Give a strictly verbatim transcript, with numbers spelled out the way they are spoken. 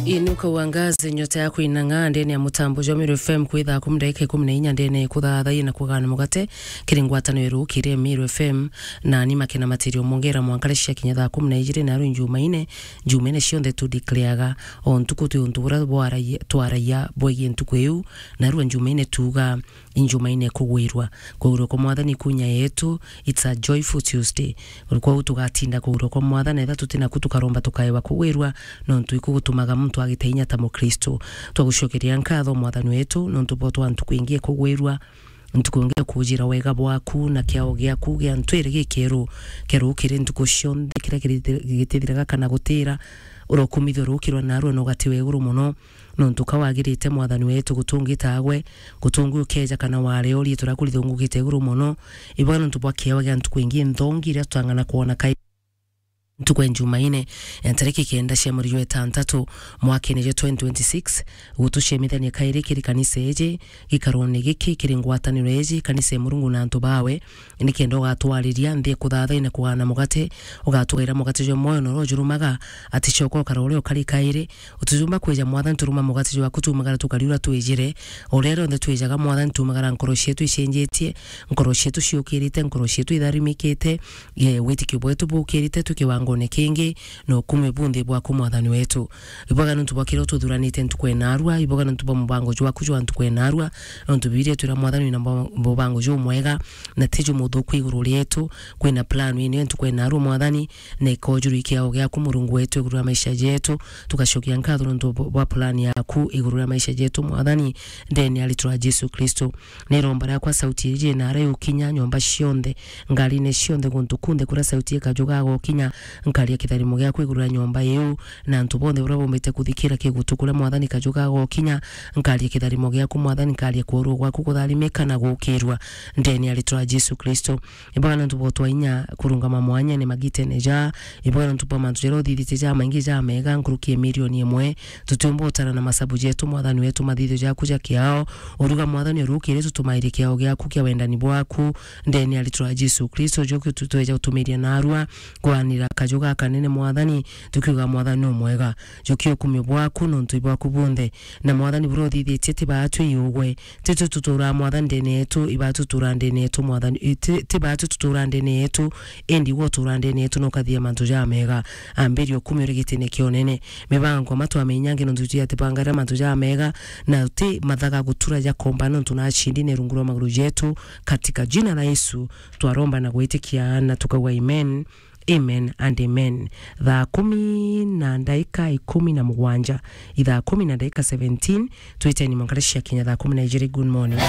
Inuka uangaze, nyota yaku inang'aa ndene ya mutambo jwa Meru F M kwi thaa kumi ndagika ikumi na inya ndene kuthathaiya na kugana mugate kiri ngwataniro irukiire Meru F M, na ni Makena Matirio Mongera mwanka riria ciakinya thaa kumi na ijiri, na ruu Njumaine, Njumaine cionthe tu declareaga o ntuku twi untu buria bwaragia, twaragia bwegie ntuku iu, na ruu Njumaine tuuga Injumaine kugwirua. Kugwirua kwa Mwathani kunya yetu, it's a joyful Tuesday. Kwou tugatinda kugwirua kwa Mwathani, etha tuti naku tukaromba tukaewa kugwirua, nontu iku gutumaga muntu agita inya ta Mukristo. Twagucokeria nkatho Mwathani wetu, nontu bwa twa ntuku ingi kugwirua, ntuku ingi kujira wega bwaku na kiao giaku gia ntwiri gikeru, keru kiri ntuku cionthe, kiria kiri-, gitithiraga kana gutira, urokumithio rukirwa narua na ugati wa iguru mono. Nontu ka wagirite Mwathani wetu, gutungitagwe, gutungi ukeja kana wareorie turia kurithungukite iguru mono. Ibwa nontu bwa kiewa gia ntuku ingi nthongi iria tutang'ana kwona kai ntuku ya Njumaine ya ntariki kenda cia mweri jwa itantatu mwakene jwa twenty twenty-six, gutucemithania kairi kiri kanisa iji, gikarone giki kiri ngwataniro iji, kanisa ya Murungu na antu bawe, nikenda ugatwariria nthi ya kuthathai na kugana mugate, ugatwaira mugate jwa mwoyo na uria ujurumaga, ati coka ukara uria ukari kairi. Utijumba kwija Mwathani turuma mugate jwaku tumagara tukari uria twijire. O riria rionthe twijaga Mwathani tumagara nkoro cietu icenjetie, nkoro cietu ciukirite, nkoro cietu itharimikite, ye, witikio bwetu bukirite twi kiwangone kingi, na ukumi bu nthi bwaku Mwathani wetu. Ibwaga nontu bwa kiria ututhuranite ntuku enarua, ibwaga nontu bwa mubango jwaku jwa ntuku enarua, nontu Bibilia itwira Mwathani wina mbo-, mubango jumwega, na ti jumuthuku iguru rietu. Kwina plan ino ya ntuku enarua Mwathani, na ikojuru ikiao giaku Murungu wetu iguru ria maisha jetu. Tugacokia nkatho nontu bwa plan yaku iguru ria maisha jetu Mwathani, ndene ya ritwa ria Jesu Kristo. Ni iromba riakwa sauti iji inara yukinya nyomba cionthe, ngarine cionthe, guntu kunthe kuria sauti ikajugaga ukinya, nkaria kitharimo giaku iguru ria nyomba iu, na antu bonthe baria bombite kuthikira kigutu kuria Mwathani kajugaga ukinya, nkaria kitharimo giaku Mwathani, nkaria kworua gwaku kutharimika na gukirua ndene ya ritwa ria Jesu Kristo. Ibwaga nontu bwa utwa inya kurungama mwanyene magitene ja, ibwaga nontu bwa mantu jaria uthithitie ja maingi ja mega nkuruki ya milioni imwe, tutiumba utara na masabu jetu Mwathani wetu mathithio jaku ja kiao. Uruga Mwathani urukire tutumairie kiao giaku kia wendani bwaku ndene ya ritwa ria Jesu Kristo, joki tutweja utumiria narua kwanira kaju gakanene Mwathani, tukiuga Mwathani ni umwega. Jokia ukumio bwaku nontu ibwaku bunthe, na Mwathani buria uthithitie ti baatu iugwe. Titwe tuturaa Mwathani ndene yetu, ibatu tuturaa ndene yetu Mwathani, i-, ti, ti baatu tuturaa ndene yetu, indi gwe uturaa ndene yetu na ukathithia mantu jamega. Ambiria ukumio uri gitine kia unene. Mibango matwa minyange nontu tujia tibangaira mantu jamega, na ti mathaga gutura jakomba nontu nachindi ne rungu rwa maguru jetu. Katika jina la Yesu twaromba na gwitikia na tukauga amen. Amen and amen. Thaa kumi na ndaika ikumi na mugwanja, ithaa kumi na ndaika seventeen, twiteni mwanka riria ciakinya thaa kumi na ijiri. Good morning.